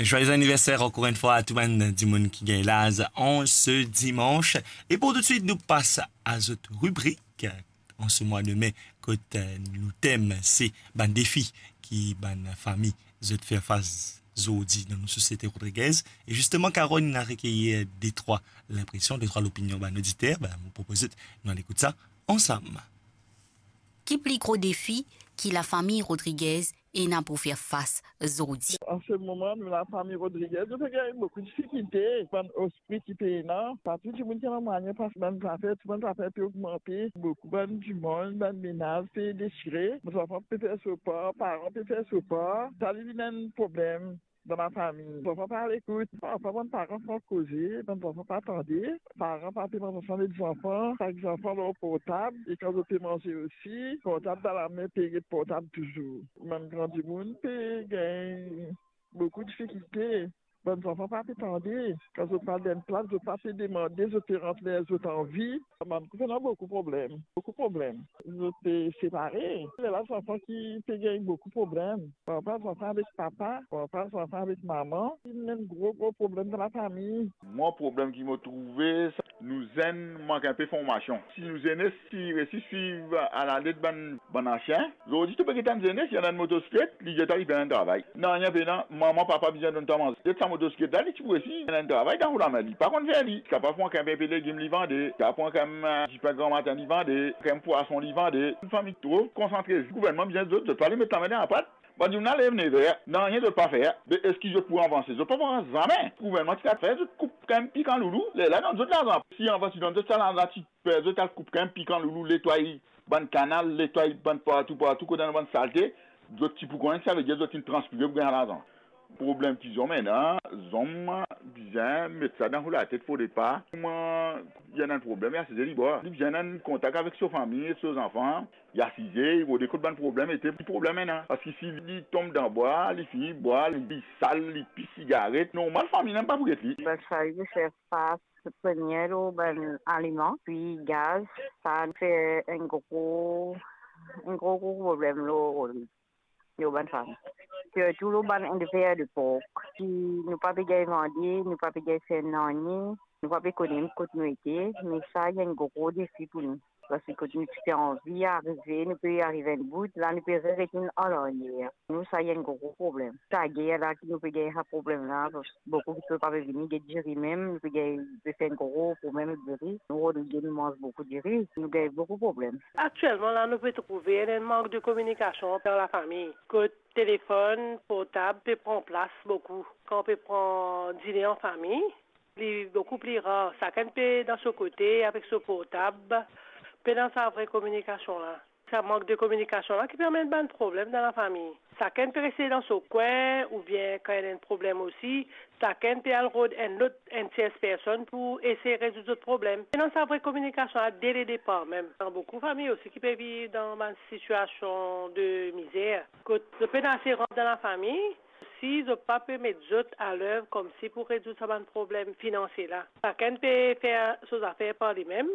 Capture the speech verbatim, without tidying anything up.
Joyeux anniversaire encore une fois à tout bann dimoun ki gagn laz an se dimanche. E pou toutswit, nou pas a zot ribrik an se mwa de me, kot eh, nou tem se bann defi ki bann fami zot fer fas zordi dan nou sosiete rodrigez. E zisteman, Caroline inn al rekeir detrwa linpresion, detrwa lopinion bann oditer. Ben, mo propoz zot, nou al ekout sa ansam. Ki pli gro defi ki lafami Rodriguez ena pou fer fas zordi? An se moman, nou lafami Rodriguez, nou pe gagn boukou difikilte. Bann pri ki pena, pa tou dimoun ki ena mwayin pas bann zafer, tou bann zafer pe ogmante, boukou bann dimoun, bann menaz pe desire, bann zanfan pe fer so par, paran pe fer so par, sa li vinn enn problem dan lafami. Zanfan pa al ekout, parfwa bann paran san koze, bann zanfan pa tande, paran pa pe manz ansanm ek zanfan, sak zanfan lor portab, e kan zot pe manze osi, portab dan lame, pe get portab touzour. Bann gran dimoun pe gagn boukou difikilte. Bann zanfan pa pe tande. Kan zot pe al dan enn plas, zot pa pe demande, zot pe rant ler zot anvi. Bann koup ena boukou problem. Boukou problem. Zot pe separe. Lerla zanfan ki pe gagn boukou problem. Parfwa zanfan avek papa, parfwa zanfan avek mama. Li enn gro, gro problem dan lafami. Mwa, problem ki mo trouve, sa, nou zenn mank inpe formasion. Si nou zenes ti resi swiv alalet bann, bann ansien, zordi to pe get enn zenes, li ena enn motosiklet, li dir twa li pena enn travay. Nanye pena, mama, papa bizin donn twa manze. Get sa motosiklet la, li ti pou resi ena enn travay dan ou lame, li pa konn fer li. Kapav pran kanmem inpe legim li vande, kapav pran kanmem, eh, dipin gramatin li vande, kanmem pwason li vande. Enn fami tro konsantre, gouvernman bizin zot, zot pa le met lame dan lapat. Bann dimoun la lev nev er, nanye zot pa fer. Be eski zot pou avanse? Zot pa pou avanse zame. Gouvernman ti kapav fer, zot koup kanmem pikan loulou, lerla donn zot larzan. Si avan ti donn zot sa larzan, ti fer zot al koup kanmem pikan loulou, netway bann kanal, netway bann partou, partou kot ena bann salte, zot ti pou konn, savedir zot inn transpire pou gagn larzan. Problem ki zom ena, zom bizin met sa dan ou latet, fode pa. Mwa, li ena enn problem, li asize li bwar. Li bizin ena enn kontak avek so fami, so zanfan, li asize, li rode kot bann problem ete, ki problem ena. Paski si li tom dan bwar, li fini bwar, li sal, li pis sigaret, normal fami la mem pa pou get li. Bann fami pe fer fas premie lor bann aliman, pi gaz, sa fer enn gro, enn gro, gro problem lor, lor bann fami. Sirtou lor bann elver de pork, ki nou pa pe gagn vande, nou pa pe gagn fer nanye, nou pa pe kone kot nou ete, me sa enn gro defi pou nou. Paski kot nou ti pe anvi arive, nou pe ariv enn bout, la nou pe reretourn alaryer. Nou, sa enn gro problem. Sa ger la ki nou pe gagn sa problem la, boukou dimoun pa pe vini get diri mem, nou pe gagn, pe fer enn gro problem ek diri. Nou, nou gagn, nou manz boukou diri, nou gagn boukou problem. Aktielman la, nou pe trouve ena enn mank de kominikasion dan lafami. Kot telefonn portab pe pran plas boukou. Kan pe pran dine an fami, li boukou pli rar. Sakenn pe dan so kote avek so portab, pena sa vre kominikasion la. Sa mank de kominikasion la ki pe amenn bann problem dan lafami. Sakenn pe reste dan so kwin, oubien kan ena enn problem osi, sakenn pe al rod enn lot, enn tiers personn pou esey rezoud zot problem. Pena sa vre kominikasion la de le depar mem. Dan boukou fami osi ki pe viv dan bann sitiasion de mizer, kot zot pena ase rant dan lafami, si zot pa pe met zot alev koumsi pou rezoud sa bann problem finansie la. Sakenn pe fer so zafer par limem,